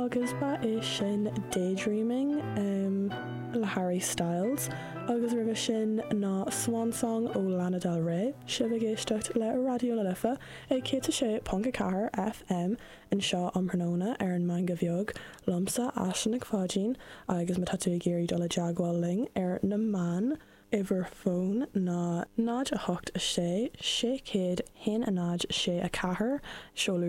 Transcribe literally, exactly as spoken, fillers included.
Agus ba é sin Daydreaming um, le Harry Styles agus roimhe sin ná Swan Song ó Lana Del Rey, sibh ag éisteacht le Raidió na Life ag céad a sé ponc a ceathair FM anseo um thráthnóna ar an Meangadh Bheag liomsa Aisling Nic Pháidín agus má tá tú ag iarraidh dul i dteagmháil linn ar na meáin uimhir fóin ná náid a hocht a sé sé céad haon a náid sé a ceathair seoladh